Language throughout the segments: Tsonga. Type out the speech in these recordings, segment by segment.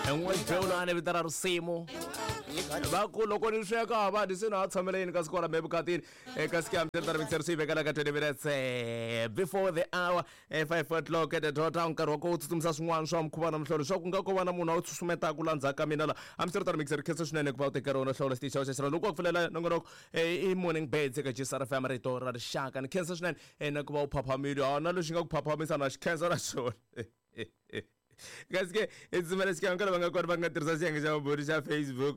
N'webewulani vito ra risimu va ku loko ni sweka va dyi se na ha tshamela yini kasi kwala mevukatini eka sikamtari mixer swi vekela ka 20 minutes before the hour, 5 o'clock at the dot. Nkarhi wa ku tsutsumisa swin'wana swa mukhuva na mihlolo swa ku nga ko va na munhu a wu susumetaka la ndzhaku ka mina la. Hambiswiritano, mixer, khensa swinene ku va u tekela wona hlawula xitichi xa xexo loko wa ku pfulela nongonoko i Morning Birds eka GCR FM, rito ra rixaka. Ni khensa swinene na ku va u phaphamile a na lexi nga ku phaphamisa na xi khensa na xona. Kasi ke i tsutsumela xikan'we ka lava nga kona va nga tirhisa xiyenge xa vumbhuri xa Facebook.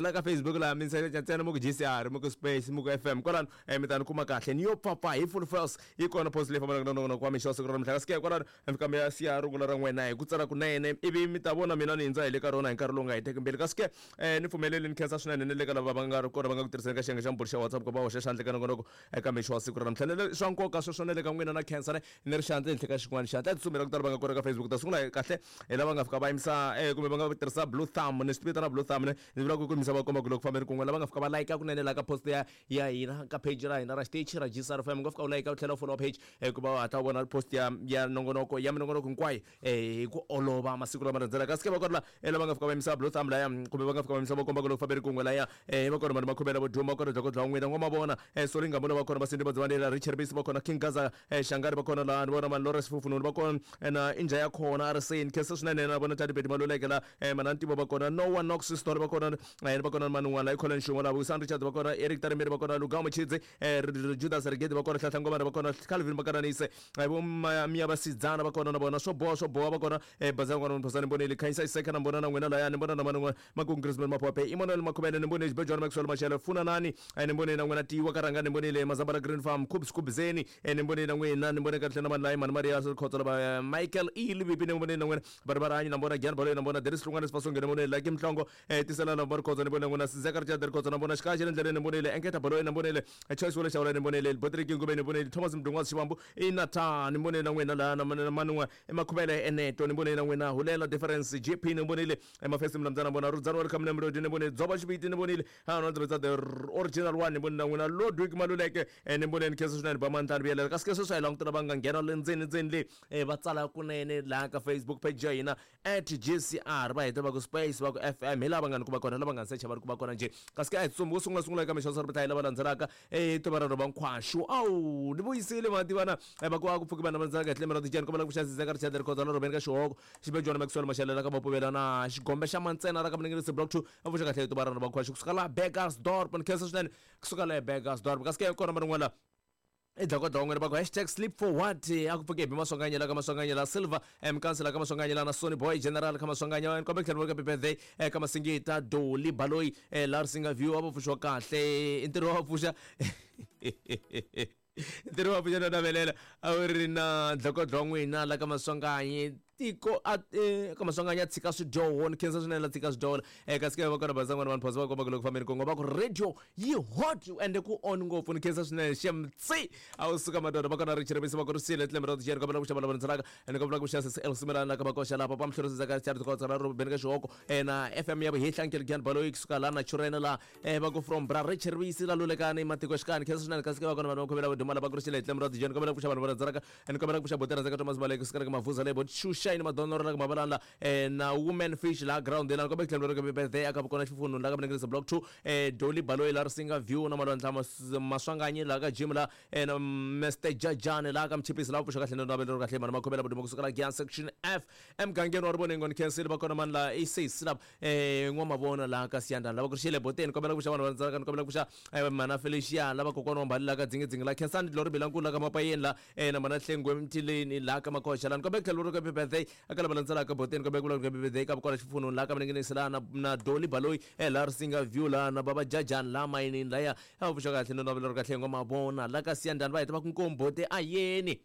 La ka Facebook laha mi search ntsena mi ku GCR, mi ku space, mi ku FM kwalano, mi ta ni kuma kahle ni yo pfapfa hi full force. Yi kona post leyi fambelaka na nongonoko wa mixo wa siku ra namuntlha. Kasi ke kwalano mi fika mi ya siya rungula ra n'wina hi ku tsala kunene, ivi mi ta vona mina ni hindza hi le ka rona hi nkarhi lowu nga heteki mbilu. Kasi ke ni pfumeleli ni khensa swinene ni le ka lava va nga ri kona va nga ku tirhiseni ka xiyenge xa mbhuri xa WhatsApp ku va hoxa xandla ka nongonoko eka mixo wa siku ra namuntlha. Ni swa nkoka sweswo na le ka n'wina na khensa ne ni ri xandla henhla ka xin'wana xandla. A tsutsumela ku tala va nga kona ka Facebook. Ta sungula kahle hi lava nga fika va yimisa kumbe va nga tirhisa blue thumb, ni swi vitana blue thumb, ne ni vula ku ku yimisa va komba ku loko fambeni kun'we. Lava nga fika va like kunene la ka post ya hina ka page ra hina ra xitichi ra GCR FM, nga fika u like u tlhela u follow page ku va u hatla u vona post ya nongonoko ya minongonoko hinkwayo hi ku olova masiku lama landzelaka. Kasi ke va kona la lava nga fika va yimisa blue thumb laya kumbe va nga fika va yimisa va komba ku loko fambeni kun'we laya, va kona vanhu makhomela vo duma va kona dlokodlo wa n'wina n'wamavona solingamula va kona vasindi vadzivanela Richard Bisi va kona King Gaza Shangari va kona laha ni vona mani Lawrence Fufununi va kona na inja ya khona ariseni khensa swinene na vona Tati Beti Maluleke la mana Ntivo va kona Noah Knox Story va kona va kona mani n'wana Colin Xungo la Vusan Richard va kona Eric Tarimeri va kona Lugamo Chidzi Judas Rigedi va kona Hlahla Ngomana va kona Calvin Makaranise vo Miya Vasidzana va kona na vona swo boha swo boha va kona Bazana n'wana Mphosani Mboneli Khanyisa Iseka na mbona na n'wina laya ni mbona na mani n'wana Makungu Griezmann Maphope Emmanuel Makhubele ni mbonile Xibejwana Maxwell Mashele Funa Nani ni mbonile na n'wina Tiwa Karanga ni mbonile Mazambala Green Farm Khubs Khubzeni ni mbonile na n'wina ni mbone kahle na mani layi mani Maria Khotso lava Michael E Livipi ni mbonile na n'wina Baribaranyi na mbona Gian Baloyi na mbona Deris Hlungwane Sifasonge ni mbonile Lucky Mhlongo Tisela na mbona Khotso ni mbonile n'wina Sizeka Richard Khotso na mbona Xikaxi le ndleleni ni mbonile Enketa Baloyi na mbonile Choice Wole Xawula ni mbonile Botriki Ngube ni mbonile Thomas Mdungwazi Xivambu i Nathan ni mbonile na n'wina laha na mani n'we Makhubele Eneto ni mbonile na n'wina Hulela Difference JP ni mbonile Mafesi Mlamdzana mbona Rudzani Welcome na Mlodi ni mbonile Dzoba Xiviti ni mbonile ha no the original one ni mbonile na n'wina Lodwig Maluleke ni mbonile ni khensa swinene ba mandlani vuyelela. Kasi ke sweswi a hi langutela va nga nghena le ndzeni ndzeni le va tsala kunene laha ka Facebook page ya hina @GCR, va heta va ku space va ku FM, hi laha va nga ni ku va kona lava nga ni secha va ri ku va kona njhe. Kasi ke a hi tsumbi wo sungula sungula eka mixo swa lava landzelaka tuva ra rhova nkhwaxu awu ni vuyisile mativana va ku a ku pfuki vanhu va landzelaka hi tlhelo ra tijani kombela ku xavisisa ka Richard Rikhoza na Robeni ka xihoko Xibejwana Maxwell Mashelela ka Mapuvela na Xigombe xa Mantsena ra ka Mninginisi Block 2 a pfuxa kahle tuva ra rhova nkhwaxu kusuka laha Burgersdorp. Ni khensa swinene kusuka laha Burgersdorp. Kasi ke kona man'wana i dlokodlo wa n'wina va ku #sleepforwhat a ku pfuke hi Maswanganyela ka Maswanganyela Silver Mkansela ka Maswanganyela na Sony Boy General ka Maswanganya kombe tlhelo ka birthday ka Masingita Doli Baloyi la Risinga View a va pfuxiwa kahle i ntirho wa pfuxa ntirho wa pfuxa na navelela a wu ri na dlokodlo wa n'wina la ka Maswanganyi tiko a ka Maswanganyi a tshika swidyoho. Ni khensa swinene la tshika swidyoho kasi ke va kona bazan'wana vanhu phosa va komba ku loko fambeni kongo va ku radio yi hot ende ku on ngopfu. Ni khensa swinene xemtsi a wu suka madoda va kona ri chirivisi va ku ri sile tlembe ra tijeri kombela ku xava lava ndzelaka ende kombela ku xa sesi Elsimelana la ka makoxa la papa mhlorisi ka Richard Khotsa ra Ruben ka xihoko na FM ya vuhehla Nkeligani Baloyi kusuka la na Churena la va ku from bra Richirivisi la lulekani matiko xikani khensa swinene. Kasi ke va kona vanhu va khomela vuduma lava ku ri xile tlembe ra tijeri kombela ku xava vanhu va ndzelaka ende kombela ku xa botera ka Thomas Baleke kusuka ka Mavuza le bot Shushaini Madonoro la ka Mabalana na Woman Fish la ground la kombela tlhelo ka birthday aka kona xifunu la ka Mninginisi Block 2 Dolly Baloyi la Risinga View na Malwandla Maswanganyi la ka Jim la na Mr Jajane la ka Mchipisi la pfuxa kahle na navelo kahle mani makhomela vuduma kusuka la Gian Section F emugangeni wa Ribonengo ni khensile va kona mani la i6 la n'wamavona la ka Siyandana lava ku ri xile boteni kombela ku xa vanhu va ndzaka ni kombela ku xa mana Felicia lava kokwana wa Mbali la ka Dzingidzingi la Khensani Glory Bilankulu la ka Mapayeni la na mana Hlengwe Mtileni la ka Makoxa la ni kombela ku tlhela ri ka birthday aka lava landzelaka boteni kombela ku vula birthday ka kona xifununi la ka Mninginisi la na Dolly Baloyi la Risinga View la na Baba Jajani la mayinini laya a pfuxa kahle no navelo ri kahle n'wamavona la ka Siyandani va heta va ku nkombote ayeni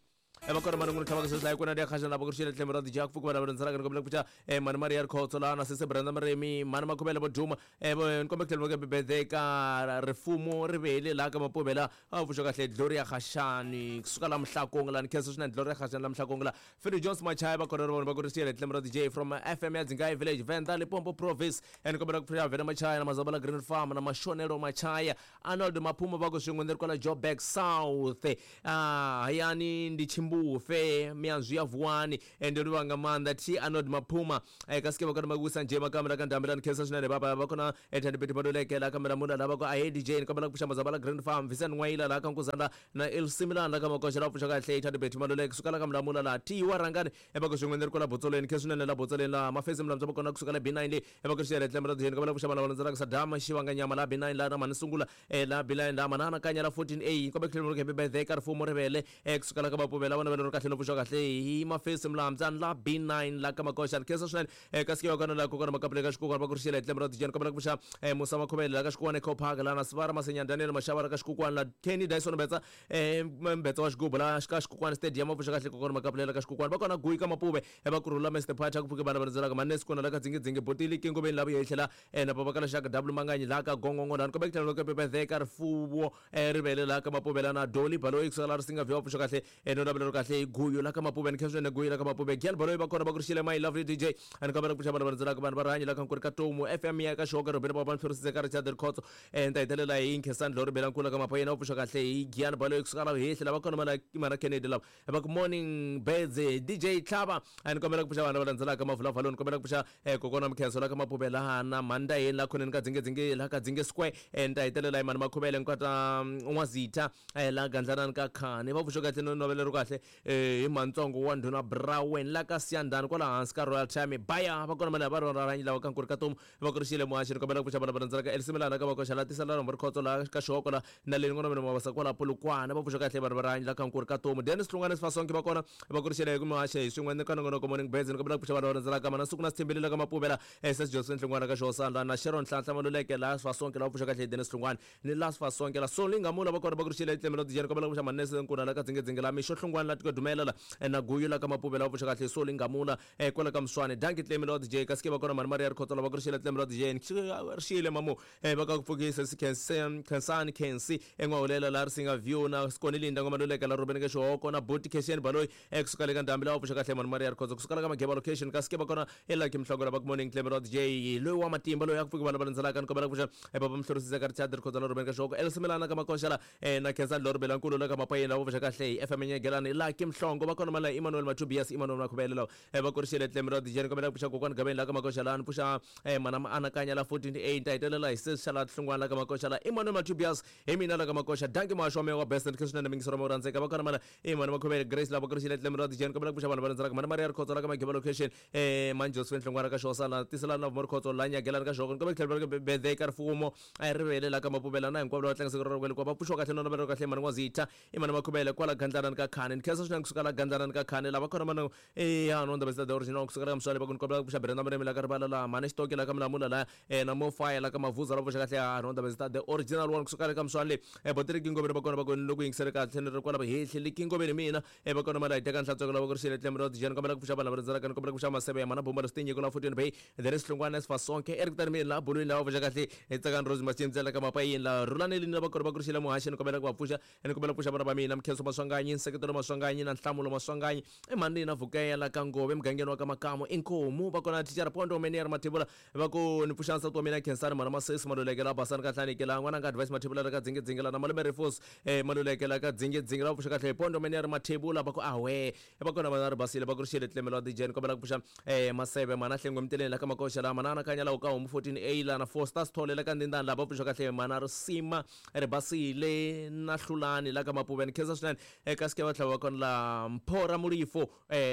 va kona mani n'wini tlhavaka sweswi laha kona ya khaxa lava ku ri xile tlhelo ra dija ku pfuka vanhu va rhandzanaka ni kombela ku pfuxa mani Maria Rikhotso laha na sese Brenda Maremi mani Makhubele vo duma ni kombela ku tlhela va birthday ka Rifumo Rivele laha ka Mapuvela a pfuxa kahle Gloria Khashani kusuka la Mhlakong la ni khensa swinene Gloria Khashani la Mhlakong la Philip Jones Machaya va kona ri vona va ku ri xile tlhelo ra DJ from FM ya Dzingayi Village Venda Limpopo Province ni kombela ku pfuxa Vena Machaya na Mazabala Green Farm na Mashonelo Machaya Arnold Maphuma va ku swin'we ni ri kwala Joburg South hayani ndi Tshimbufe mianzwi ya Vuwani ende livha nga maanḓa T Arnold Maphuma kasi ke vha kona makusa nje makamera ka ndambela ni khensa swinene baba va kona Thandi Betty Maluleke la kamera mula la va ku ahe DJ ni kombela ku pfuxa mazaba la Grand Farm Vincent N'wayila la ka Nkuzana na El Similana la ka Makoxa la pfuxa kahle Thandi Betty Maluleke suka la ka Mulamula la T wa Rhangani eva ku swin'we ni ri kwala Botsolweni khensa swinene la Botsolweni la Mafesi Mulamza va kona kusuka la B9 le eva ku xiyele tlembe ra DJ ni kombela ku pfuxa vana va landzelaka Saddam Xivanga Nyama la B9 la na Mhani Sungula la B9 la Manana Kanya la 14A kombe ku tlhela happy birthday ka rifumo rivele kusuka la ka Mapuvela vona vele ri kahle no pfuxa kahle hi Mafesi Mulamza la B9 la ka Makoxa ni khensa swinene kasi ke va kona la kokwana Makapule ka Xikukwana va ku ri xiyele tlembe ra DJ ni kombela ku pfuxa Musa Makhuvele la ka Xikukwana Eco Park la na Sivara Masenya Daniel Mashava la ka Xikukwana la Kenny Dyson Mbetsa Mbetsa wa xigubu la ka Xikukwana Stadium va pfuxa kahle kokwana Makapule la ka Xikukwana va kona Guyi ka Mapuve va kurhula Mr Phacha ku pfuke vana va landzelaka Manesi kona la ka Dzingidzingi Botili Kingoveni la vuye hi tlhela na Papa ka Lexaka W Manganyi la ka Gongongo la ni kombe ku tlhela loko birthday ka rifuwo rivele la ka Mapuve la na Dolly Baloyi kusuka la Risinga View va pfuxa kahle no lavela ro kahle hi Guyu la ka Mapuve ni khensa swinene Guyu la ka Mapuve Gian Baloyi va kona va ku ri xile my lovely DJ a ni kombela ku pfuxa vana va landzelaka vanhu va rihanyo la ka Nkuri ka Tomu FM ya ka Xihoka Robert Baba ni tlherisise ka Richard Rikhotso ni ta hetelela hi Nkhensani Dlori Belankulu ka Mapayena va pfuxa kahle hi Gian Baloyi kusuka la hehli lava kona mana mana Kennedy lava va ku morning birds DJ Tlhava a ni kombela ku pfuxa vanhu lava landzelaka Mavulavalo ni kombela ku pfuxa kokwana Mkhenso la ka Mapuve laha na Mandaheni la khoneni ka Dzingedzinge la ka Dzinge Square ni ta hetelela hi Mani Makhuvele nkwata N'wazitha la Gandlanani ka Khani va pfuxa kahle no novele ro kahle hi Mantsongo wa Ndhuna Brawen la ka Siyandhani kwala hansi ka Royal Time baya va kona mali va rona rhanyi lava ka Nkuri ka Tomu va ku ri xile muhaxi ni kombela ku pfuxa vanhu va landzelaka Elsimilana ka Makoxa la tisela rhombo rikhotso la ka Xihoko la na le n'wana mina mavasa kwala Polokwane va pfuxa kahle vanhu va rihanyo la ka Nkuri ka Tomu Dennis Hlungwane Sifasonke va kona va ku ri xile muhaxi hi swin'we ni ka nongonoko Morning Birds ni kombela ku pfuxa vanhu va landzelaka mana Suku na Sithembile la ka Mapuvela SS Josephine Hlungwane ka Xihosana na Sharon Nhlanhla Maluleke la Sifasonke la va pfuxa kahle Dennis Hlungwane ni la Sifasonke la Soli Ngamula va kona va ku ri xile tlemelo dijeni kombela ku pfuxa Manese Nkuna la ka Dzingedzinge la Mixo Hlungwane la Tiko Dumela la na Guyu la ka Mapuvela va pfuxa kahle Soli Ngamula kwala ka Mswane danki Tlemelo wa DJ kasi ke va kona Mhani Maria Rikhotso la va ku ri xile Tlemelo wa DJ ri xile mamu va ka ku pfukisa si Khensani Khensi en'wahulela la Risinga View na Sikoni Linda Ngoma Luleka la Ruben ka Xihoko na Buti Khesheni Baloyi kusuka le ka Ndhambi la va pfuxa kahle Mhani Maria Rikhotso kusuka la ka Mageba location kasi ke va kona Lucky Mhlongo la va ku morning Tlemelo wa DJ loyi wa matimba loyi a ku pfuki vanhu va landzelaka ni kombela ku pfuxa Papa Mhlorisisa ka Richard Rikhotso la Ruben ka Xihoko Elsimelana ka Makoxa la na Khensani Loribela Nkulu la ka Mapayeni la va pfuxa kahle hi FM Nyegelani Lucky Mhlongo va kona mala Emmanuel Matubias Emmanuel Makhuvele lawa va kurixile Tlemelo wa DJ ni kombela ku pfuxa kokwani Gaveni la ka Makoxa la ni pfuxa mana Maanakanya la 14A ni ta hetelela hi sesi xa la Hlungwana la ka Makoxa la Emmanuel Matubias hi mina la ka Makoxa danki muhaxi wa meya wa best ni swinene mingiso ra rhandzeka va kona mala Emmanuel Makhuvele Grace la va kurixile Tlemelo wa DJ ni kombela ku pfuxa vanhu va landzelaka mana Maria Rikhotso la ka Mageba location Manjosweni Hlungwana ka Xhosa la tisela na Rikhotso la Nyagelani ka Xhoko ni kombela ku tlhela birthday ka rifumo a rivele la ka Mapuvela na hinkwavo lava tlangisaka rero kwale va pfuxiwa kahle no navela kahle mani N'wazitha i mani Makhuvele kwala Gandlanani ka Khani ni khensa swinene kusuka la Gandlanani ka Khani lava kona mani ya no ndaba the original kusuka la ka Mswale va ku ni kombela ku pfuxa Brenda Murimi la ka Rivala la mani Xitoki la ka Mulamula la na Mofaya la ka Mavuza la pfuxa kahle ya no ndaba the original one kusuka la ka Mswale Botiri Kingoveni va kona va ku ni loko yingisele kahle ni ri kwala hehli le Kingoveni mina va kona mali hi teka nhlantsweko lava ku ri xile tlembe ra tijeni kombela ku pfuxa vanhu lava rindzelaka ni kombela ku pfuxa maseve ya mana bumba leswi la 14 bay there is Hlungwane Sifasonke Eric Tanimini la bulwini lava pfuxa kahle hi tsakani Rose Machimtsela ka mapayini la Rhulani lava kona va ku ri xile muhaxi ni kombela ku va pfuxa ni kombela ku pfuxa vana va mina Mkhenso Maswanganyi Nseketelo Maswanganyi na Nhlamulo Maswanganyi i mhani na Vukeya la ka Ngove emugangeni wa ka Makamu inkomu va kona thicara Pondo Menier Mathebula va ku ni pfuxa nsati wa mina Khensani mhana Masesi Maluleke la Basani ka Hlanike la n'wana nga Advice Mathebula la ka Dzingedzinge la na malume Rifus Maluleke la ka Dzingedzinge la pfuxa kahle Pondo Menier Mathebula va ku ahwe va kona vana ri basile va ku ri xile tlemelo wa DJ ni kombela ku pfuxa Maseve mhana Hlengwe Mteleni la ka Makoxa la mana Anakanya la ka Homu 14A la na Four Stars Thole la ka Ndindani la va pfuxa kahle mhana Risima ri basile na Hlulani la ka Mapuve ni khensa swinene kasi ke va tlhela va kona la Mpho ra Mulifo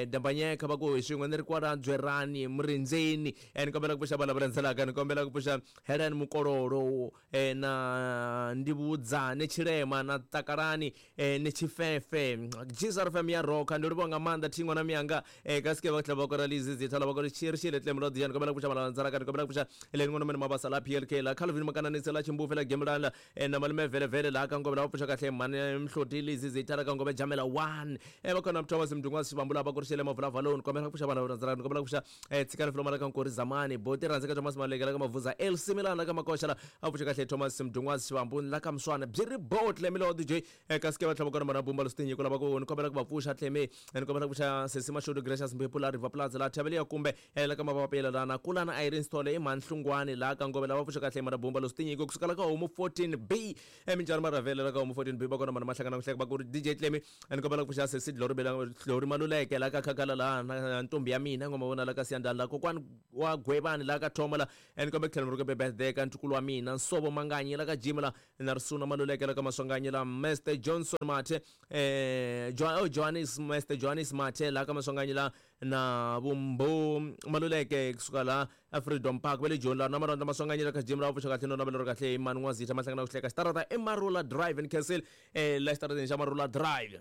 Dambanyeka va ku hi swin'we ni ri kwala Dzwerani Murindzeni ni kombela ku pfuxa vanhu lava landzelaka ni kombela ku pfuxa Helen Mukololo na Ndivhudzane Tshilema na Takalani ni Tshifefe GSR FM ya roka ndo livhuwa nga maanḓa thi ṅwana miyanga kasi ke va tlhela va kora lizizi thala va kora xi ri xile tlemo la dijani kombela ku pfuxa vanhu lava landzelaka ni kombela ku pfuxa Helen n'wana mina Mabasa la PLK la Calvin Makananise la Chimbufe la Gemulani la na malume vele vele la ka Ngove la va pfuxa kahle mhani Mhloti Lizizi thala ka Ngove Jamela 1 va kona Thomas Mdungwa Xivambu la va kurixele Mavulavalo ni kombela ku pfuxa vanhu lava landzelaka ni kombela ku pfuxa Tshikani Floma la ka Nkori Zamani Boti Rhandzeka Thomas Maleke la ka Mavuza El Similana la ka Makoxa la a pfuxa kahle Thomas Mdungwa Xivambu la ka Mswana byi ri bo Tlemi lo DJ kasi ke va tlhela va kona mana Bumba Lositinyiko lava ku ni kombela ku va pfuxa Tlemi ni kombela ku pfuxa Sesi Mashudu Gracious Mphephu la River Plaza la Thaveliya kumbe la ka Mavapela la na Kulana Irene Sithole i Mhani Hlungwani la ka Ngove lava pfuxa kahle mana Bumba Lositinyiko kusuka la ka Homu 14B minjhani Maravele la ka Homu 14B va kona mana Mahlangana ku hleka va ku ri DJ Tlemi ni kombela Kombela ku pfuxa sesi Glory Bela Glory Maluleke la ka Khakhala la na ntombi ya mina ngoma vona la ka Siyandhani la kokwani wa Gwevani la ka Thoma la and kombela ku tlhela ni ri birthday ka ntukulu wa mina Nsovo Manganyi la ka Jim la na Risuna Maluleke la ka Maswanganyi la Mr Johnson Mathe oh, Johannes Mr Johannes Mathe la ka Maswanganyi la na Vumbu Maluleke kusuka la Freedom Park va le Joni la na Marondla Maswanganyi la ka Jim la pfuxa kahle no navela ri kahle hi mani N'wazitha mahlangana ku hleka xitarata i Marula Drive and Castle la xitarateni xa Marula Drive.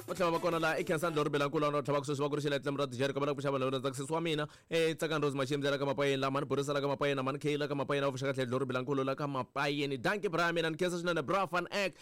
Va tlhela va kona laha i Khensani Lori Belankulu va tlhava ku sweswi va ku ri xela tlemu ra tijeri kombela ku pfuxa vanhu lava tsakisisi wa mina Tsakani Rose Machimbi la ka Mapayeni la mhani Borisa la ka Mapayeni na mhani Kay la ka Mapayeni va pfuxa kahle Lori Belankulu la ka Mapayeni dankie bra mina ni khensa swinene bra van ek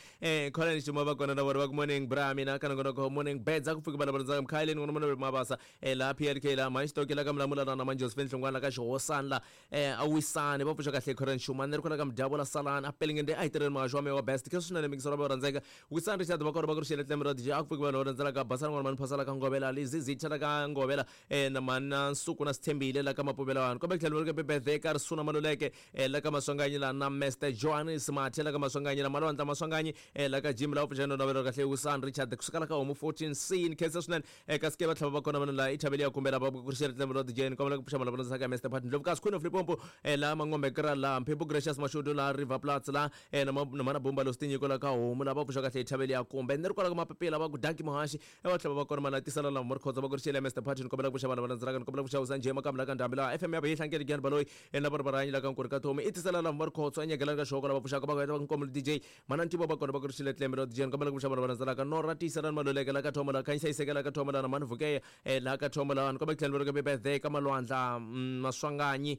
Colin Xuma va kona na vona va ku morning bra mina ka nongonoko morning beds a ku pfuki vanhu va rhandzaka Mkhayeleni n'wana mune Mabasa laha PLK la mhani Xitoki la ka Mulamula na mhani Josephine Hlongwane la ka Xihosani la a Wisani va pfuxa kahle Colin Xuma ni ri kwala ka Mudyavula Salani a Pelengende a hi tirheni muhaxi wa mehe wa best khensa swinene mingiselo va rhandzeka Wisani Richard va kona va ku ri xele tlemu ra DJ a ku pfuki vanhu va rhandzela Basani n'wana mhani Phasala ka Ngovela Lizzy Zitha la ka Ngovela na mhani na Nsuku na Sithembile la ka Mapuvela vanhu kombe tlhelo ri birthday ka Risuna Maluleke la ka Maswanganyi la na Mr Johannes Mathe la ka Maswanganyi la Malwandla Maswanganyi la ka Jim la pfuxa no navela kahle Wisani Richard kusuka la ka Homu 14 C ni khensa swinene kasi ke va tlhava va kona vanhu la i thaveli ya kumbela va ku ri xele tlemu ra DJ ni kombela ku pfuxa vanhu va ka Mr Pat Ndlovukazi Queen of Limpopo la Mangombe Kra la Mphephu Gracious Mashudu la River Platz la na na mhana Bumba Los Tinyiko la ka Homu la va pfuxa kahle thaveli ya kumbe ni ri kwala ka Mapapila va ku danki muhaxi va tlhela va kona mana tisala la Morikhotso va ku ri xele Mr Patty ni kombela ku pfuxa vanhu va landzelaka ni kombela ku pfuxa Usa Njhe Makamu la ka Ndhambi la FM ya va yi hlankeli Giyani Baloyi la va ri varanyi la ka Nkuri ka Thomi i tisala la Morikhotso a nyegelani ka Xihoko lava pfuxaka va ku heta va nkomo DJ mana Ntivo va kona va ku ri xele Tlembe la DJ ni kombela ku pfuxa vanhu va landzelaka Nora Tiyiselani Maluleke la ka Thomo la Khanyisa Yiseke la ka Thomo la na Mhani Vukeya la ka Thomo la ni kombela ku tlhela ni ri birthday ka Malwandla Maswanganyi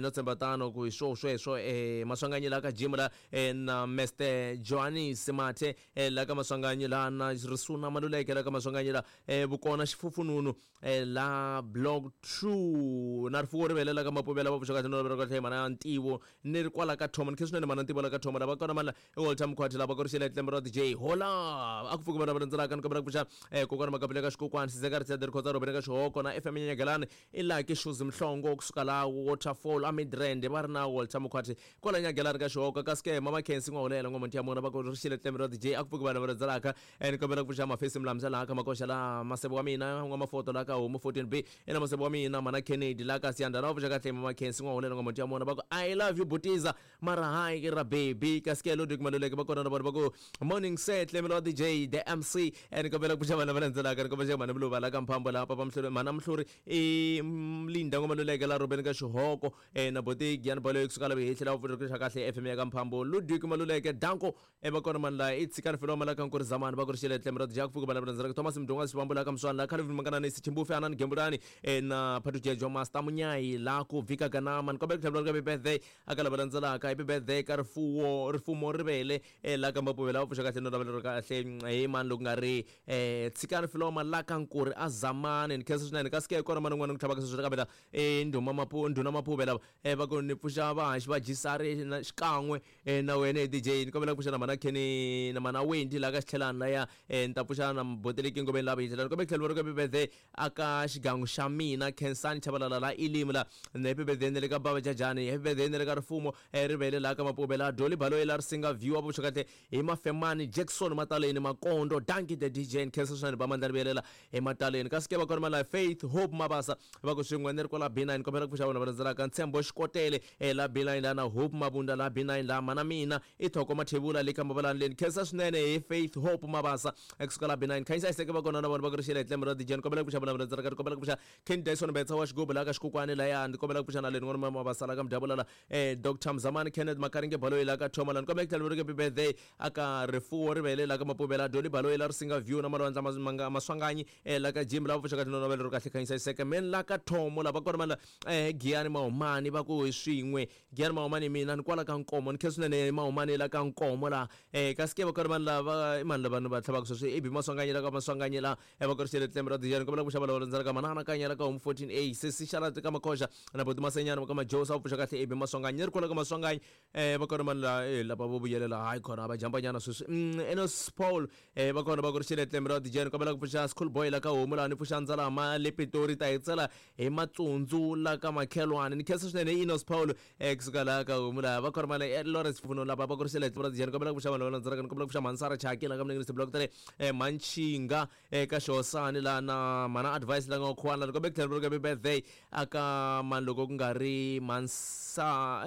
no tshemba tano ku hi swo sweswo Maswanganyi la ka Jim la na Mr Johannes Mathe la ka Maswanganyi la na Risuna Maluleke la ka Maswanganyi la Vukona Xifufununu la Block 2 na Rifuwo Rivele la ka Mapuvela va pfuxa kahle no lavela kahle mana Ntivo ni ri kwala ka Thoma ni khe swinene mana Ntivo la ka Thoma lava kona mana Walter Mkhwati lava ku ri xele tlembe ra DJ hola a ku pfuki vana va landzelaka ni kombela ku pfuxa kokwana Makapele ka Xikokwani Sizeka Ritshede Rikhotsa Robeni ka Xihoko na FM Nyanyagelani i Lucky Shoes Mhlongo kusuka la Waterfall a Midrand va ri na Walter Mkhwati kwala Nyagelani ka Xihoko kasi ke Mama Khensi N'wahulela N'wamonti ya mona va ku ri xele tlembe ra DJ a ku pfuki vana va landzelaka ni kombela ku pfuxa Mafesi Mlamza laha ka Makoxa la Masebo wa mina N'wamafoto la ka Homu 14B ina Masebo wa mina Mana Kennedy la ka Siyanda na va pfuxa kahle Mama Khensi N'wahulela N'wamonti ya mona va ku I love you Butiza mara hayi ra baby kasi ke Ludwig Maluleke va kona na vona va ku morning set lemelo wa DJ the MC ni kombela ku pfuxa vana va landzelaka ni kombela mhani Muluva la ka Mphambo la Papa Mhluri mhana Mhluri i Linda N'wamaluleke la Robeni ka Xihoko na boti Giyani Baloyi kusuka la Vihehli la pfuxa kahle FM ya ka Mphambo Ludwig Maluleke Danko va kona mani la i Tshikani Filoma la ka Nkuri Zamani va ku ri xele tleme ra DJ ku pfuka vana va landzelaka Thomas Mdunga Xivambu la ka Mswani la Calvin Manganani Sichimbufe Anani Gembulani na Phatu Jejo Master Munyayi la ku Vika Ganama ni kombela ku tlhela va birthday a ka lava landzelaka happy birthday ka rifuwo rifumo rivele la ka Mapuvela va pfuxa kahle no lavela ri kahle hi mani loko nga ri Tshikani Filoma la ka Nkuri a Zamani ni khensa swinene kasi ke kona mani un'wana ni ku tlhavaka sweswi kambe la ndhuma Mapu ndhuna Mapuvela va ku ni pfuxa vahaxi va Jisari na xikan'we na wena hi DJ ni kombela ku pfuxa na mhana Kenny na mhana Wendy la ka Xitlhelani laya ni ta pfuxa na Boteleki Ngobeni la Vihehli ni kombela ku tlhela va ri happy birthday aka xigangu xa mina Khensani Chabalala la Elimi la happy birthday ni le ka Baba Jajani happy birthday ni le ka Rifumo Rivele la ka Mapuvela Dolly Baloyi la Risinga View wa pfuxa kahle hi Mafemani Jackson Mataleni Makondo Dankie the DJ ni khensa swinene ba mandla ni vuyelela emataleni kasi ke va kona mala Faith Hope Mabasa va ku swin'we ni ri kwala B9 kombela ku pfuxa vona va landzelaka Ntshembo Xikotele la B9 la na Hope Mabunda la B9 la mana mina i Thoko Mathebula le ka Mabalani leni khensa swinene hi Faith Hope Mabasa kusuka la B9 Khanyisa Iseke va kona na vona va ku ri xele hi tlembe ra DJ ni kombela ku pfuxa vona va landzelaka ni kombela ku pfuxa Ken Dyson Betsa wa xigubu la ka Xikukwani laya ni kombela ku pfuxa na leni n'wana Mabasa la ka Mdyavula la Dr Mzamani Kenneth Makaringe Baloyi la ka Thoma la ni kombela ku tlhela va ri happy birthday aka Rifuwo Rivele la ka Mapuvela Dolly Baloyi la Risinga View na Malwandla Maswanganyi la ka Jim la pfuxa kahle no navela ri kahle Khanyisa Iseke men la ka Thomo la va kona mani Giyani Mahumani va ku hi swin'we Giyani Mahumani mina ni kwala ka Nkomo ni khensa swinene Mahumani la ka Nkomo la kasi ke va kona mani lava i mani lava ni va tlhavaka sweswi i Bi Maswanganyi la ka Maswanganyi la va ku ri xele tlembe ra dijani kombela ku xava lava landzela ka manana kanya la ka Home 14A sesi xala ka Makosha na boti Masenyana ka Majosa va pfuxa kahle AB Maswanganyi ni ri kwala ka Maswanganyi va kona mani la lava vo vuyelela hayi khona va jambanyana sweswi Enos Paul va kona va ku ri xele tlembe ra dijani kombela ku pfuxa School Boy la ka Homu laha ni pfuxa Ndzalama le Pitori ta hi tsela hi Matsundzu la ka Makhelwani ni khensa swinene Enos Paul kusuka laha ka Homu laha va kona mani Lawrence Pfuno lava va ku ri xele tlembe ra dijani kombela ku pfuxa vanhu lava landzelaka ni kombela ku pfuxa Mansara Chaki la ka Mninginisi Block 3 Manchinga eka Xihosani laha na mana Advice la nga khuwana ni kombela ku tlhela happy birthday aka mani loko ku nga ri Mansa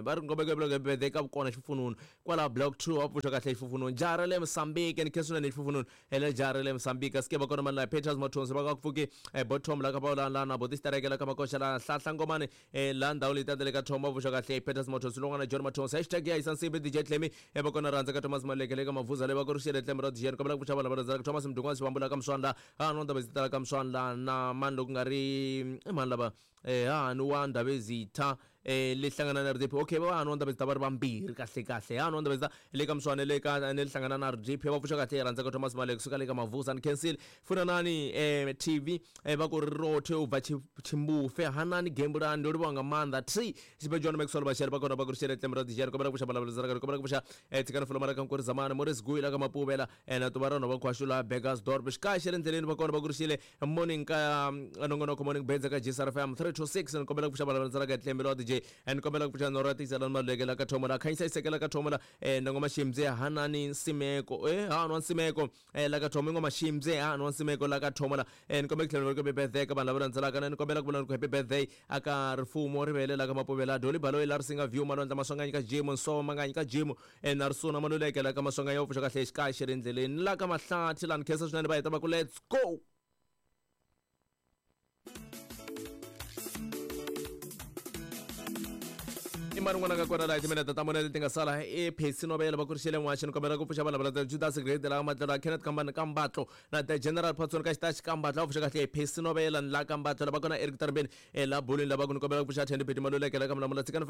va ri kombela ku happy birthday ka vukona xifununu kwala Block 2 va pfuxa kahle xifununu jara le Mozambique ni khensa swinene xifununu ele jara le Mozambique ske va kona mani la Peters Mathonsi va ka ku pfuki bottom la ka va la na boti stereke la ka Makosha la Hlahla Ngomane la ndhawu leyi tatele ka Thoma va pfuxa kahle Peters Mathonsi lon'wana John Mathonsi hashtag ya yisa nsimbi DJ Tlemi va kona rhandza ka Thomas Maleke le ka Mavuza le va ku ri xele Tlemi ra DJ kombela ku pfuxa vanhu lava rhandzaka Thomas Mdungwana Xivambula ka Mswandla ha no ndaba zitala ka Mswandla na mani loko nga ri i mani lava ha ni wa Ndabezitha le hlangana na RDP okay va ha ni wa Ndabezitha va ri vambirhi kahle kahle ha ni wa Ndabezitha le ka Mswane le ka ne hlangana na RDP va pfuxa kahle rhandza ka Thomas Maleke suka le ka Mavuza ni cancel funanani TV va ku ri rothe u bva Chimbufe hanani gembulani ndo livhuwa nga maanḓa t Xibejwana Maxwell Bashari va kona va ku ri xele tlembe ra dijani kombela ku pfuxa valava kombela ku pfuxa tshikani fulomara ka Nkuri Zamani Morris Guyi la ka Mapuvela na tuva ra nhova Khwaxu la Burgersdorp xikaya xa le ndleleni va kona va ku ri xile morning ka nongonoko morning benza ka GSR FM 326 ni kombela ku pfuxa valava ka tlembe ra DJ ni kombela ku pfuxa Nora Tisela Maluleke la ka Thomo la Khanyisa Iseke la ka Thomo la Nongoma Ximdze Hanani Nsimeko Hanwa Nsimeko la ka Thomo Ngoma Ximdze Hanwa Nsimeko la ka Thomo la ni kombela ku tlhela ku happy birthday ka vanhu lava landzelaka ni kombela ku vula ku happy birthday aka Rifumo Rivele la ka Mapuvela Doli Baloyi la Risinga View Malwandla Maswanganyi ka Jimu Nsovo Manganyi ka Jimu na Risuna Maluleke la ka Maswanganyi va pfuxa kahle xikaya xi ri endleleni la ka Mahlathi la ni khensa swinene va heta va ku let's go. I mani n'wana ka kona laha timinete ta mune leti nga sala i Phesi Novela va ku ri xele n'waxi ni kombela ku pfuxa vanhu lava Judas Grade la Matlelo Kenneth Kambani Kambatlo na the General Patson ka xitaxi Kambatlo va pfuxa kahle Phesi Novela ni la Kambatlo lava kona Eric Tarmbeni la Bulwini lava ku ni kombela ku pfuxa Thandi Pheti Maluleke la ka Mulamula tshikani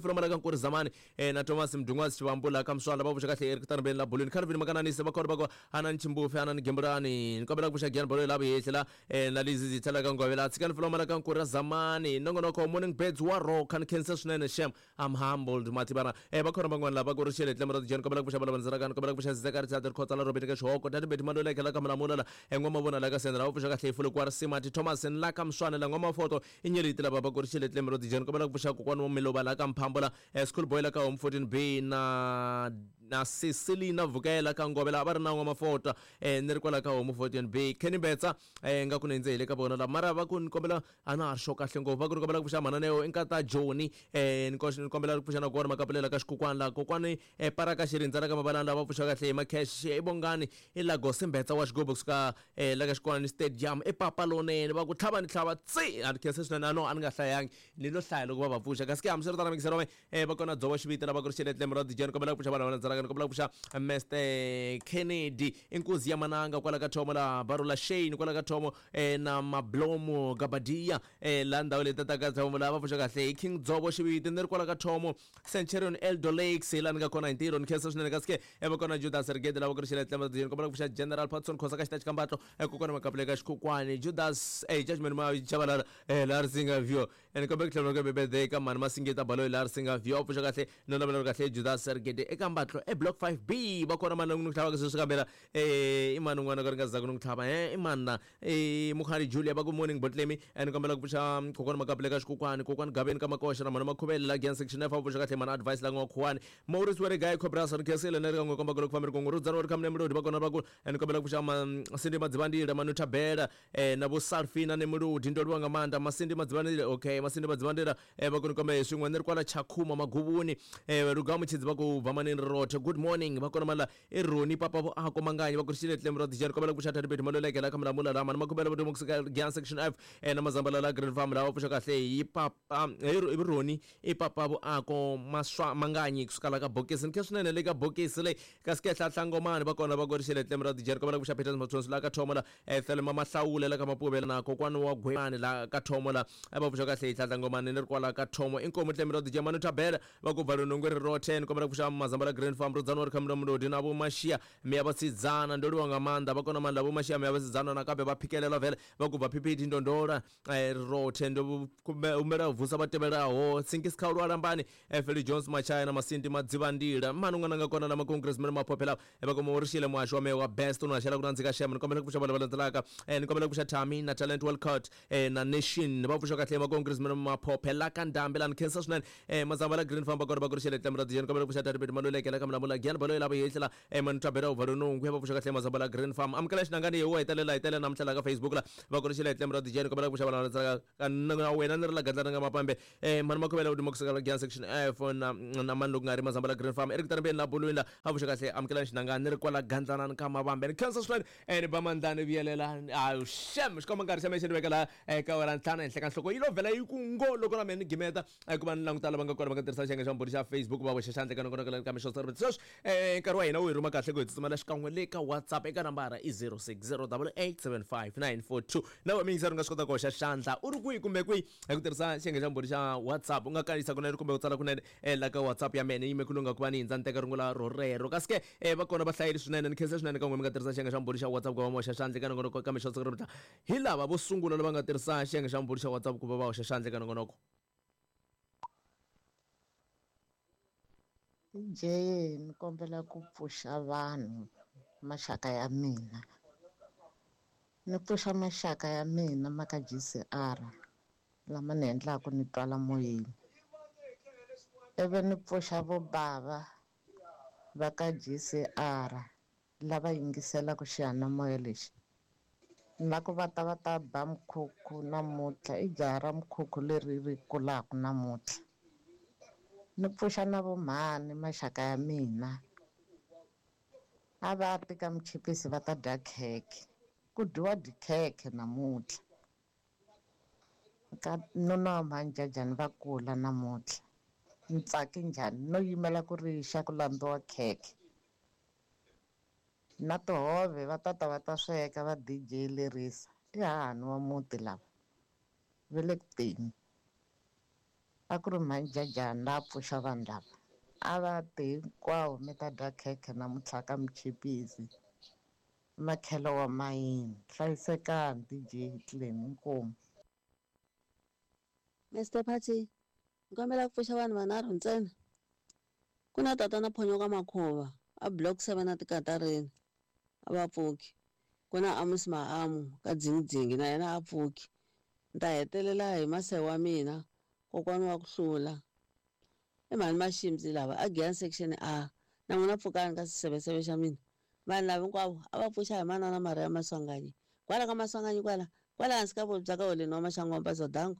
Filoma la ka Nkuri Zamani na Thomas Mdungwazi Xivambu la ka Mswala va pfuxa kahle Eric Tarmbeni la Bulwini Calvin Makananisi va kona va ku Hanani Chimbufe Hanani Gembulani ni kombela ku pfuxa Gian Baloyi la Vuhehli la na Lizzy Zitha la ka Ngove la tshikani Filoma la ka Nkuri Zamani nongonoko morning birds wa rock ni khensa swinene shem I'm humbled mativana va khona van'wana lava ku ri xele tlembe ra tijeni kombela ku pfuxa valava ndzela ka ni kombela ku pfuxa Zeka Richard Khotsa la Robert ka Xihoko Tati Beti Maluleke la ka Mulamula la N'wama vona la ka Sendra va pfuxa kahle Fulu kwa Simati Thomas la ka Mswane la N'wama Foto i nyeliti lava va ku ri xele tlembe ra tijeni kombela ku pfuxa kokwani wa Miluva la ka Mphambo la School Boy la ka Home 14B na Cecilina Vukela ka Ngove la va ri na N'wama Foto ni ri kwala ka Home 14B Kenny Betsa nga ku ni ndze hi le ka vona la mara va ku ni kombela a na ha ri xo kahle ngopfu va ku ni kombela ku pfuxa mananeo i nkata Joni ni kombela ku pfuxa na kona makapulela ka xikokwani la kokwani paraka xirindza la ka mabalani lava pfuxa kahle hi macash i bongani i Lagos Mbetsa wa xigubu kusuka la ka xikwani stadium i papa lonene va ku tlhava ni tlhava tsi a ni khensa swinene a no a ni nga hlayangi ni lo hlaya loko va va pfuxa kasi ke hambiswiritano mikiselo va kona dzovo xiviti lava ku ri xele tlembe ra dijeni kombela ku pfuxa vanhu lava landzelaka ni kombela ku pfuxa Mr Kennedy inkuzi ya mananga kwala ka Thomo la Barula Shane kwala ka Thomo na Mablomo Gabadia la ndhawu leyi tataka Thomo lava pfuxa kahle hi King Dzovo xiviti ni ri kwala ka Thomo Centurion Eldo Lakes hi laha ni nga kona hi ntirho ni khensa swinene kasi ke va kona Judas Rigede lava ku ri xele tlembe ra dijeni kombela ku pfuxa General Patson Khosa ka xitachi Kambatlo kokwana Makapule ka Xikhukwani Judas Judgment ma Chabalala la Risinga View ni kombela ku tlhela ku birthday ka mhani Masingita Baloyi la Risinga View pfuxa kahle no navela kahle Judas Sergede eka Mbatlo e block 5B va kona mani n'wi tlhavaka sweswi kambela i mani un'wana ka ri nga zaku n'wi tlhava i mani na Mukhari Julia va ku morning Botlemi ni kombela ku pfuxa kokwana Makapule ka Xikokwani kokwani Gaveni ka Makoxa na mhani Makhuvele la Gian section F pfuxa kahle mhani Advice la n'wa Khuwani Maurice Weregayi Cobras ni khensile ni ri ka n'we komba ku loko fambi ri kungu Rudzani wa ri khamune Mulodi va kona va ku ni kombela ku pfuxa Masindi Madzivandila Manuta Bela na vo Salfina ni Muludi ndo livha nga maanḓa Masindi Madzivandila okay Masindi Madzivandila va ku ni kombe swin'we ni ri kwala Tshakhuma Maguvuni Luga Mutshidzi va ku bva manini rothe good morning va kona mala i Roni papa vo ako Manganyi va ku ri xile tlembe ra dijeni kombela ku pfuxa Thandi Beti Maluleke la ka Mulamula la mani Makhubela va kusuka Gian section F na Mazambala la Green Farm lava pfuxa kahle hi papa hi Roni i papa vo ako Maswa Manganyi kusuka la ka bokisi ni khe swinene le ka bokisi leyi kasi ke Hlahla Ngomani va kona va ku ri xile tlembe ra dijeni kombela ku pfuxa Peter Mathonsi la ka Thomo la Thelma Mahlawule la ka Mapuvela na kokwani wa Gwemani la ka Thomo la va pfuxa kahle. Tlhadla Ngomani ni ri kwala ka Thomo. Inkomu Tlemelo DJ Manu Thabela va ku bva lunungwe ri rothe. Ni kombela ku pfuxa Mazambala Green Farm Rudzani wa ri khamula Mulodi na Vho Mashia Miya Vhasidzana. Ndo livhuwa nga maanḓa vha kona maanḓa Vho Mashia Miya Vhasidzana nakambe vha phikelela vele vha ku bva PPD Ndondola ri rothe. Ndo humbela u vusa vha tevhelaho Sinkis Khaulu Alambani, Feli Jones Machaya na Masindi Madzivhandila. Mani ṅwananga kona na Makongress mene maphophela vha koma uri shile muhasho wa meya wa best no shela kuna ndzika shem. Ni kombela ku pfuxa vhala vha landzelaka, ni kombela ku pfuxa Tami na Talent Walcott na Nation va pfuxa kahle Makongress mene maphophela ka ndambi lani khensa swinene. Mazamba la Green Farm va kona va ku ri xele tlemra DJ. Ni kombela ku pfuxa Tati Peti Maluleke la ka Mlamula Gian Baloyi lava yehlela mani Thabela u Valunungu va pfuxa kahle Mazamba la Green Farm. Amukela xinangani hi wo hetelela hetelela namuntlha la ka Facebook la va ku ri xele tlemra DJ. Ni kombela ku pfuxa vhala landzelaka ka na wena ni ri la gandlana nga mapambe mani Makhuvela u duma kusuka la Gian section F na na mani loko nga ri Mazamba la Green Farm Eric Tarambeni la Bulwini la a pfuxa kahle. Amukela xinangani ni ri kwala gandlana ka mavambe. Ni khensa swinene ni ba mandlani vuyelela ayu shem xikomba nkarhi xa mehe xi ni vekela eka wena ntlhanu henhla ka nhloko yi lo vhela yi ku ngo loko na mehe ni gimeta ku va ni languta lava nga kona va nga tirhisa xiyenge xa mbhuri xa Facebook va hoxa xandla eka nongonoko ka mixo sweswi. Nkarhi wa hina wu hi rhuma kahle ku hi tsutsumela xikan'we le ka WhatsApp eka nambara i 0608875942. Na wena miyingiseri u nga swi kota ku hoxa xandla u ri kwihi kumbe kwihi hi ku tirhisa xiyenge xa mbhuri xa WhatsApp. U nga kanisa kunene kumbe u tsala kunene la ka WhatsApp ya mina yime ku lunga ku va ni hindza ni teka rungula rorero. Kasi ke va kona va hlayile swinene. Ni khensa swinene ka n'wina mi nga tirhisa xiyenge xa mbhuri xa WhatsApp ku va mi hoxa xandla eka nongonoko ka mixo siku ra hi lava vo sungula lava nga tirhisa xiyenge xa mbhuri xa WhatsApp ku va va hoxa xandla eka nongonoko. DJ ni kombela ku pfuxa vanhu maxaka ya mina. Ni pfuxa maxaka ya mina ma ka GCR lama ni endlaka ni twala moyeni. Ivi ni pfuxa vo bava va ka GCR lava yingiselaka xiyanimoya lexi. Na ku va ta va ta ba mkhukhu namuntlha, i jaha ra mkhukhu leri ri kulaka namuntlha. Ni pfuxa na vo mhani maxaka ya mina. A va ti ka Mchipisi va ta dya khekhe. Ku dyiwa dikhekhe namuntlha. Ka nuna wa mhani Jajani va kula namuntlha. Ni tsake njhani no yimela ku ri xa ku lambiwa khekhe. Na tihove va tata va ta sweka va DJ lerisa. I hahani wa muti lava. Va le ku teni. A ku ri mhani Jajani la pfuxa vanhu lava. A va ti hinkwavo mi ta dya khekhe namuntlha ka Mchipisi. Makhelo wa mayini. Hlayisekani DJ Clem inkomu. Mr Party, ni kombela ku pfuxa vanhu vanharhu ntsena. Ku na tatana Phonyoka Makhova a block 7 a tikatareni a va pfuki. Ku na Amos Maamu ka Dzingidzingi na yena a pfuki. Ni ta hetelela hi mase wa mina kokwana wa ku hlula. I mhani Maximzi lava a Giyani section A na n'wina pfukani ka xiseveseve xa mina. Vanhu lava hinkwavo a va pfuxa hi manana Maria Maswanganyi. Kwala ka Maswanganyi kwala, kwala hansi ka vobya ka holeni wa Maxangu wa Mpazodango.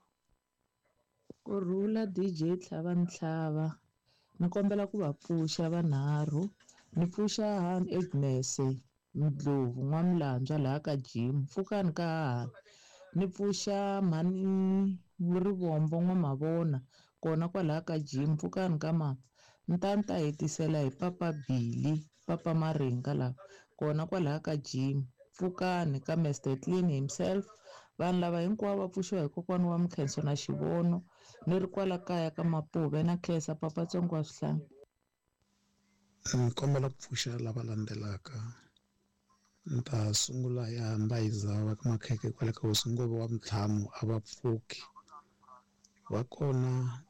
Kurhula DJ Tlhava Ntlhava. Ni kombela ku va pfuxa vanharhu. Ni pfuxa Han Agnes Ndlovu N'wamilandzwa laha ka Jim. Pfukani ka hahani. Ni pfuxa mhani Rivombo N'wamavona kona kwalaha ka Jim. Pfukani ka mama. Ni ta ni ta hetisela hi Papa Billy, Papa Maringa lava kona kwalaha ka Jim. Pfukani ka Mr Clean himself. Vanhu lava hinkwavo va pfuxiwa hi kokwana wa Mkhenso na Xivono. Ni ri kwala kaya ka Mapuve na Khensa Papa Tsongo wa Swihlangi. Ni kombela ku pfuxa lava landzelaka. Ni ta sungula ya Mbayiza va ka Makhekhe kwale ka Hosi Ngove wa Mtlhamu a va pfuki. Va kona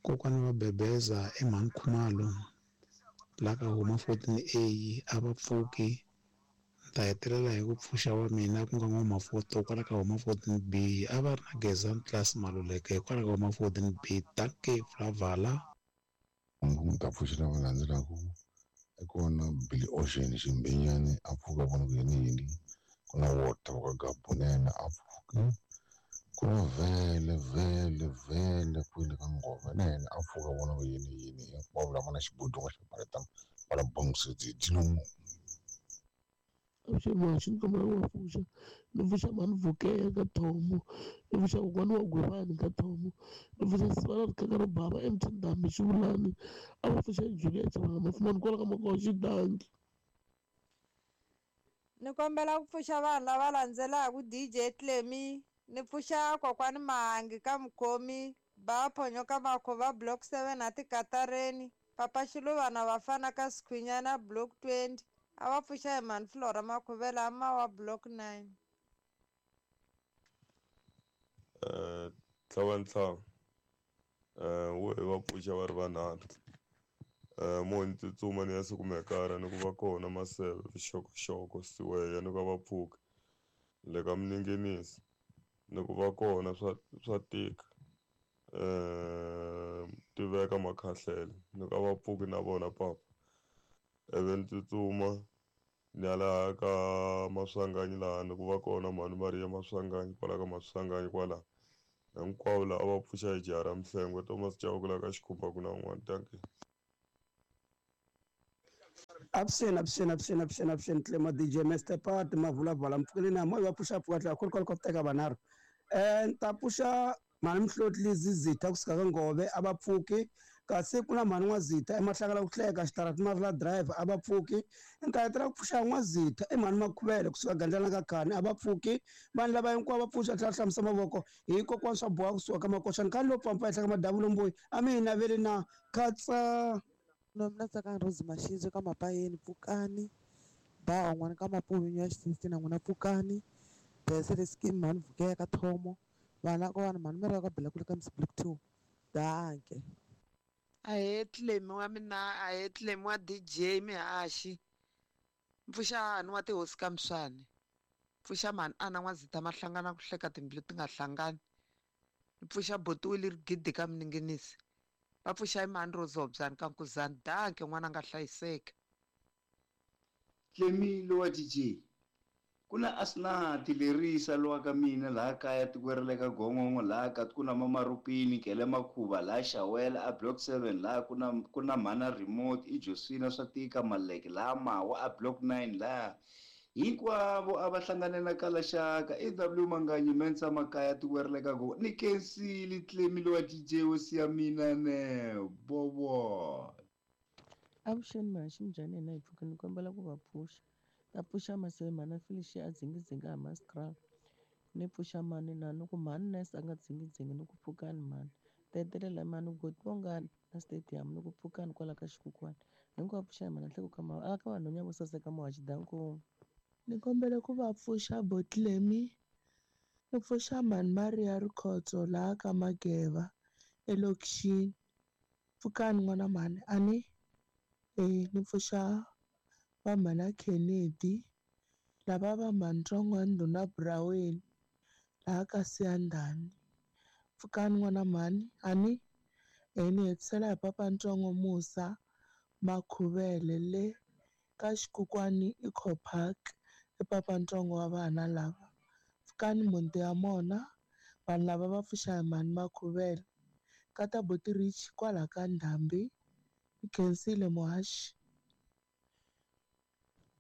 kokwana va Bebeza eMhani Khumalo la ka huma 14A a va pfuki. Ni ta hetelela hi ku pfuxa wa mina ku nga N'wamafoto kwala ka huma 14B a va ri na Gezani Class Maluleke kwala ka huma 14B. Dankie Flavala. Ni ta pfuxa lava landzelaka i kona Billy Ocean Ximbenyani a pfuka vona ku yini yini. Ku na Walter wa ka Gabunene a pfuki. Ku na Vele Vele Vele kwele ka Ngove na yena a pfuka vona ku yini yini. Hinkwavo lava na xibodongo xa baleta va la bongisetse dilomo. Xi ni kombela ku va pfuxa. Ni pfuxa mhani Vukeya ka Thomo. Ni pfuxa kokwana wa Gwivani ka Thomo. Ni pfuxa Sivana Rikhaka ro bava MT Ndhambi Xivulani. A va pfuxa Juliet Xivulani Mafumani kwala ka Makoxi Danki. Ni kombela ku pfuxa vanhu lava landzelaka DJ Clemi. Ni pfuxa kokwani Mahangi ka Mukhomi, ba Phonyoka Makhuva block 7 a Tikatareni, Papa Xiluvana vafana ka Sikhwinyana block 20, a va pfuxa hi mhani Flora Makhuvela a Mawa block 9. Tlhavantlhava wo hi va pfuxa va ri vanharhu mo ni tsutsuma ni ya sikumekara ni ku va kona maseve vuxokoxoko siweya ni ku va pfuka le ka minengenisi ni ku va kona swa tika tiveka makhahlele ni ku va pfuki na vona papa ivi ni tsutsuma ni ya laha ka Maswanganyi laha ni ku va kona mhani Maria Maswanganyi kwala ka Maswanganyi kwala hinkwavo laha a va pfuxa hi jaha ra Mhlengwe Thomas Chauke laha ka Xikhumba ku na un'wana dankie. Avuxeni avuxeni avuxeni avuxeni avuxeni Tlema DJ Master Pat Mavulavala mpfukeni na moya va pfuxa pfuka tlhela ku ri teka vanharhu ni ta pfuxa mhani Mihloti Zizitha kusuka ka Ngove a va pfuki kasi ku na mhani N'wazitha emahlangala ku hleka xitarati Marula Drive a va pfuki ni ta hetelela ku pfuxa N'wazitha i mhani Makhuvele kusuka Gandlana ka Khani a va pfuki vanhu lava hinkwavo va pfuxa tlhela hlamusa mavoko hi kokwana swa boha kusuka ka Makoxani khale lowu pfampa ehenhla ka madavulo mbuyi a mi hi naveli na khatsa. No mina Tsakani Rose Mashidzo ka Mapayeni pfukani ba un'wana ka Mapuvinyo ya xisisi na n'wina pfukani Besele scheme mhani Vukela ka Thomo vana ka vanhu mhani Mary ka Bela kule ka Miss Black 2 danke. Ahee Tlemi wa mina ahee Tlemi wa DJ Mihaxi mpfuxani wa tihosi ka Mswani pfuxa mhani ana N'wazitha mahlangana ku hleka timbilu ti nga hlangani mpfuxa botiwile rigidi ka Minengenisi va pfuxa mhani Rozobyani ka Nkuzani danke n'wana nga hlayiseka. Tlemi lowa DJ ku na Asnati lerisa lowa ka mina laha kaya tikweni ra le ka Gongongo laha ka ku na Mamarupini Kele Makhuva laha Xawela a block 7 laha ku na mhana remote i Josina swa tika Maleke laha Mawa a block 9 laha hinkwavo a va hlangane na Kalaxaka AW Manganyi Mensa Makaya tikweni ra le ka Gongongo ni kensile Tlemi lowa DJ wo siya mina ne bobo. Avuxeni Mahaxi minjhani hina hi pfuka ni kombela ku va pfuxa ta pfuxa maseve mhana Felicia a dzingidzinga hi Mascral ni pfuxa mani na ni ku mhani Nice a nga dzingidzingi ni ku pfukani mhani ta hetelela mhani goti vongani na stadium ni ku pfukani kwala ka xikukwani hinkwavo pfuxa hi mhana nhleko ka ma a ka vanhwenya vo saseka Muhaxi danko. Ni kombela ku va pfuxa Botlemi ni pfuxa mhani Maria Rikhotso laha ka Mageva elokixini pfukani n'wana mhani a ni ni pfuxa va mhana Kennedy lava va mhani Ntsongwa Ndhuna Braweni laha ka Siyandhani pfukani n'wana mhani a ni ni hetisela hi papa Ntsongo Musa Makhuvele le ka Xikukwani Eco Park i papa Ntsongo wa vana lava pfukani muti ya mona vanhu lava va pfuxa hi mhani Makhuvele ka ta Buti Rich kwala ka Ndhambi i khensile Muhaxi.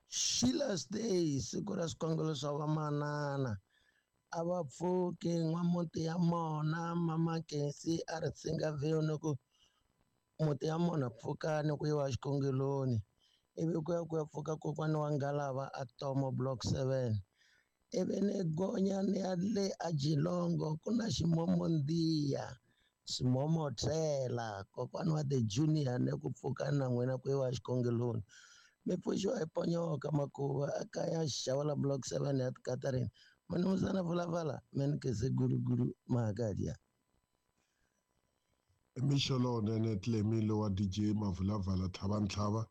Sheila's Day siku ra swikongelo swa vamanana a va pfuki n'wamuti ya mona mama Kensi a ri tsinga view ni ku muti ya mona pfukani ku yiwa xikongeloni ivi ku ya ku ya pfuka kokwani wa Ngalava a Tomo block 7 ivi ni gonya ni ya le a Jilongo ku na ximomondiya ximomotela kokwani wa the junior ni ku pfuka na n'wina ku yiwa xikongeloni mi pfuxiwa hi Ponyoka Makuva a kaya Xawela block 7 ya Tikatareni manumuzana Vulavala menikese gulugulu mahakadia. Mixo lowunene Tlemi lowa DJ Mavulavala Tlhavantlhava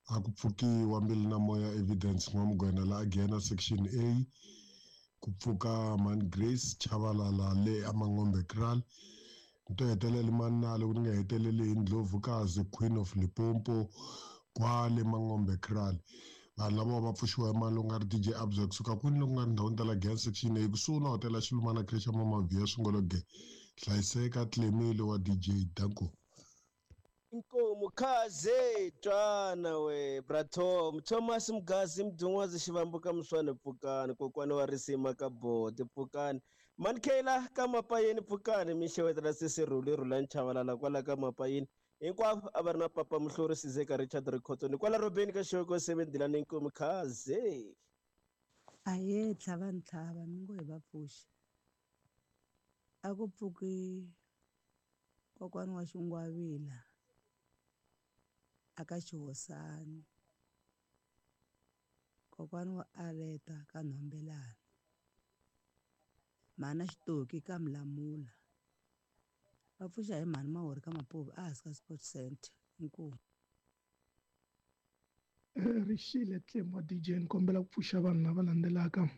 a ku pfukiwa Mbilu na Moya Evidence N'wamugwena la Giyani section A ku pfuka Man Grace Chavalala le Amangombe Kraal ni to hetelela manalo ku ni nga heteleli hi Ndlovukazi Queen of Limpopo kwale Mangombe Kraal vanhu lava va pfuxiwa hi mali u nga ri DJ Abza kusuka kwini loko nga ri ndhawini ta la Giyani section A kusuhi na hotela Xilumana Creche Mama Via Swingologe hlayiseka Tlemi wa DJ Danko. Inkomu khaze twana we bratom Thomas Mgazi Mdungwazi Xivambuka Mswane pfukani kokwani wa risima ka boti pfukani Mankela ka Mapayeni pfukani mixewetela sisi Rhuli Rhulani Chavalala kwala ka Mapayeni hinkwavo a va ri na papa Muhluri Sizeka Richard Rikhotso ni kwala Robeni ka Xoko 7Dilani inkomu khaze. Ahee Tlhavantlhava mi ngo hi va pfuxa A ku pfuki kokwana wa Xingwavila aka Xihosani, kokwana wa Aleta ka Nhombelani, mhana Xitoki ka Mlamula. Va pfuxa hi mhani Mahori ka Mapuve a hansi ka Sport Center. Inkomu. Rixile Tlemu wa DJ ni kombela ku pfuxa vanhu lava landzelaka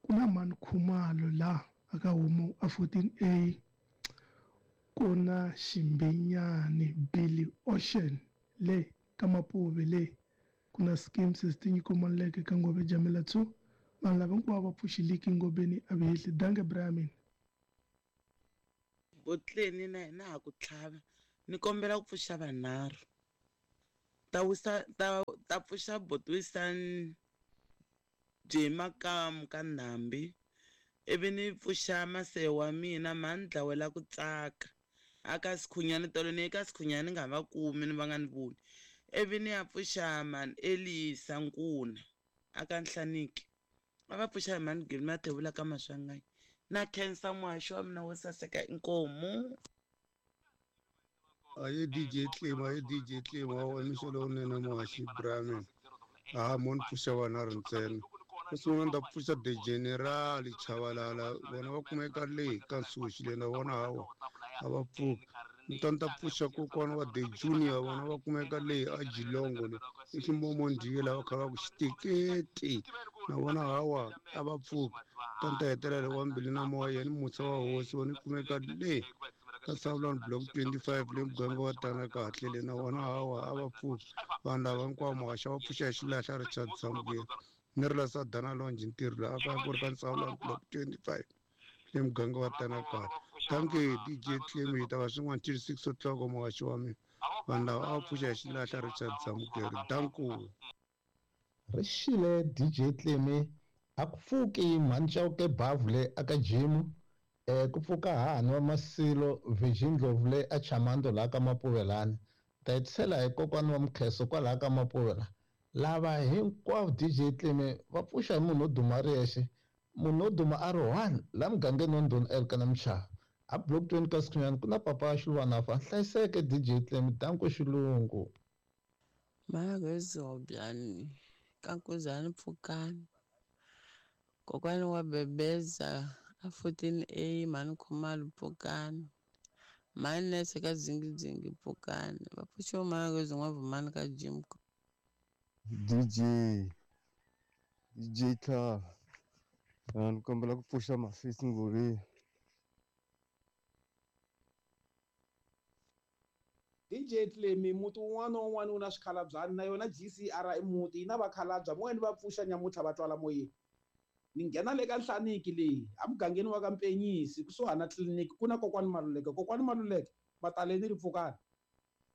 ku na mhani Khumalo la aka homu a 14A ku na Ximbenyani Billy Ocean le ka Mapuve le ku na Skeem Sesi Nyiko Maluleke ka Ngove Jamela 2 vanhu lava hinkwavo va pfuxi liki Ngobeni a vihehli danke bra mina. Botleni na hina ha ku tlhava ni kombela ku pfuxa vanharhu ta wisa ta ta pfuxa boti Jay Makamu ka Ndhambi ivi ni pfuxa masehe wa mina mhani dlawela ku tsaka a ka Sikhunyani tolo ni ye ka Sikhunyani ni nga va kumi ni va nga ni voni ivi ni ya pfuxa mhani Elisa Nkuna a ka Nhlaniki a va pfuxa hi mhani Gilly Mathebula ka Maswanganyi na khensa muhaxi wa mina wo saseka inkomu. Aye DJ Tlima, aye DJ Tlima, wa mixo lowunene muhaxi Brahman. Ha mo ni pfuxa vanharhu ntsena. Xo sungula ni ta pfuxa The General Chavalala, vona va kumeka le ka Nsuxi le na vona hawa a va pfuki. Ni ta ni ta pfuxa kokwana wa The Junior, vona va kumeka le a Jilongo le i ximomondiye lava kha va ku xiteketi na vona hawa a va pfuki. Ta ni ta hetelela wa mbilu na moya yena musa wa hosi vona kumeka le ka Savulani block 25 le muganga wa tana kahle le na vona hawa a va pfuki. Vanhu lava hinkwavo muhaxa va pfuxa hi xilahla Richard Samukeli ni ri la Sadana Lounge ntirho laha a ka ku ri ka Savulani block 25 le muganga wa tana kahle. Thank you DJ Tlemi hi ta va swin'wana till 6 o'clock muhaxi wa mina. Vanhu lava a va pfuxa hi xilahla Richard Samukeli. Danko. Ri xile DJ Tlemi a ku pfuki mhani Chauke Bavhu le aka Jimu ku pfuka hahani wa Masilo Virgin Ndlovu le a Chamando laha ka Mapuve lani ta hetisela hi kokwani wa Mukheso kwalaha ka Mapuve la lava hinkwavo DJ Tlemi va pfuxa hi munhu wo duma a ri yexe munhu wo duma a ri one la mugangeni wa Ndhuna Elkana Mchava a block 20 ka Sikhunyani ku na papa Xilwana fa hlayiseke DJ Tlemi danko xilungu. Mhaka ka Nkuzani Pfukani kokwani wa Bebeza a 14A mhani Khumalo Pfukani mhani Nese ka Dzingidzingi Pfukani va pfuxiwa mhaka N'wavhumani ka Jim DJ DJ Tlhava ni kombela ku pfuxa Mafisi Ngoveni. DJ Tlemi muti wun'wana na wun'wana wu na swikhalabyanyi na yona GCR i muti yi na vakhalabya moyeni va pfuxa nyamuntlha va twala moyeni. Ni nghena le ka Nhlaniki leyi emugangeni wa ka Mpenyisi kusuhani na tliliniki ku na kokwani Maluleke kokwani Maluleke mataleni ri pfukani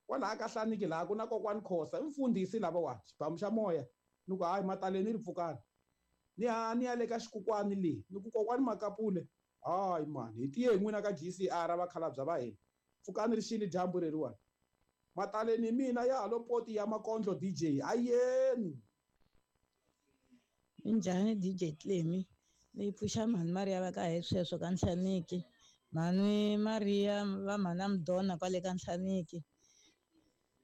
kwalaha ka Nhlaniki laha ku na kokwani Khosa i mfundhisi lavawani xibamu xa moya ni ku hayi mataleni ri pfukani ni ya ni ya le ka xikukwani leyi ni ku kokwani Makapule hayi mani hi tiye n'wina ka GCR vakhalabya va hina pfukani ri xile dyambu leriwani mataleni mina ya halo poti ya makondlo DJ ayeni. Minjhani DJ Tlemi ni pfuxa mhani Maria va ka hi sweswo ka Nhlaniki mhani Maria va mhana Mdona kwale ka Nhlaniki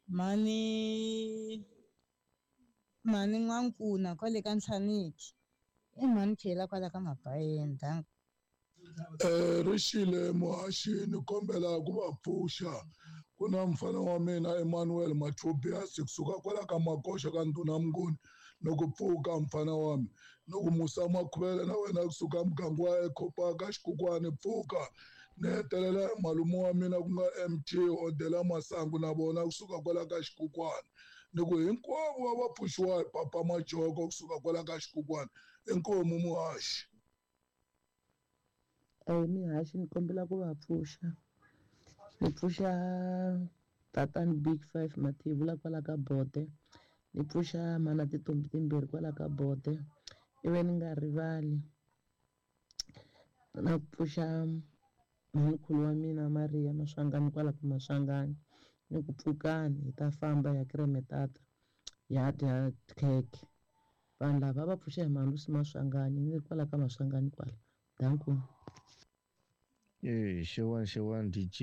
mhani mhani N'wankuna kwale ka Nhlaniki i mhani Chela kwala ka Mabayeni danko. Rixile muhaxi ni kombela ku va pfuxa ku na mfana wa mina Emmanuel Mathobias kusuka kwala ka Makoxa ka Ndhuna Mnguni loko pfuka mfana wa mina loko Musa Makhuvele na wena kusuka muganga wa Ecopark ka Xikukwani pfuka ni hetelela hi malume wa mina ku nga MT Odela Masangu na vona kusuka kwala ka Xikukwani ni ku hinkwavo va va pfuxiwa hi Papa Majoko kusuka kwala ka Xikukwani inkomu muhaxi. Eya mihaxi ni kombela ku va pfuxa ni pfuxa tatani Big Five Mathebula kwala ka Bote ni pfuxa mhana tintombi timbirhi kwala ka Bote ivi ni nga rivali na ku pfuxa mhanikhulu wa mina Maria Maswanganyi kwala ka Maswanganyi ni ku pfukani hi ta famba hi ya Kremetata hi ya dya khekhe vanhu lava va pfuxa hi Malusi Maswanganyi ni ri kwala ka Maswanganyi kwala danko. Xewani xewani DJ.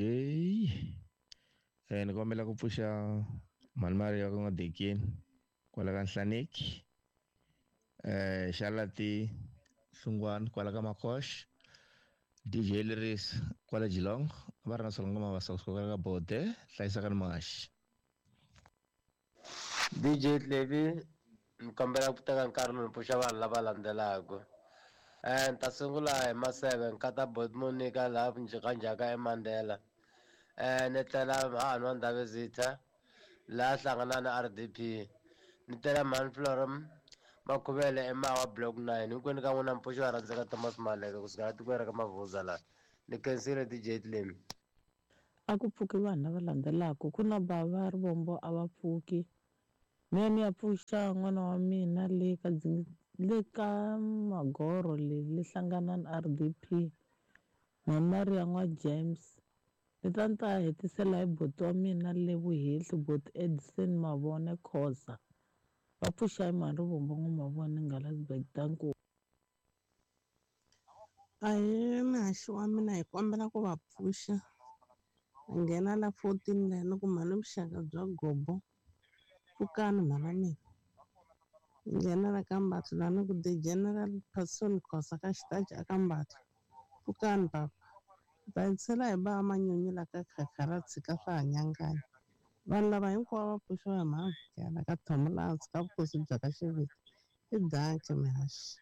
Ni kombela ku pfuxa mhani Maria ka N'wadekeni kwala ka Nhlaneki. Xalati Hlungwani kwala ka Makosh. DJ Leris kwala Geelong. Va ri na Solongo Mabasa kusuka kwala ka Bode. Hlayisakani muhaxi. DJ Levi ni kombela ku teka nkarhi ni pfuxa vanhu lava landzelaka. Ni ta sungula hi Maseve nkata Bot Monica laha Njhakanjhaka eMandela. Ni tlela hahani wa Ndhavezitha laha hlangana na RDP. Ni tela mhani Florim Makhuvele eMawa Block 9. Hinkwenu ka n'wina mpfuxo wa rhandzeka Thomas Maleke kusuka la tikweni ra ka Mavuza laha. Ni khensile DJ Tlemi. A ku pfuki vanhu lava landzelaka ku na bava Rivombo a va pfuki mina ni ya pfuxa n'wana wa mina le ka le ka Magoro le le hlangana na RDP Mhani Maria n'wa James ni ta ni ta hetisela hi buti wa mina le Vuhehli buti Edison Mavone Khoza va pfuxa hi mhani Rivombo n'wa Mavone Ngalasburg danko. Ahee muhaxi wa mina hi kombela ku va pfuxa hi nghena la 14 la ni ku mhani vuxaka bya gobo pfukani mhana mina hi nghena la ka Mbatlo la ni ku the general person Khosa ka xitachi aka Mbatlo pfukani papa va hetisela hi ba manyunyu la ka khakha ra tshika swa ha nyanganya vanhu lava hinkwavo va pfuxiwa hi mhani Vukela ka Thomolansi ka vukosi bya ka Xiviti i danki mihaxi.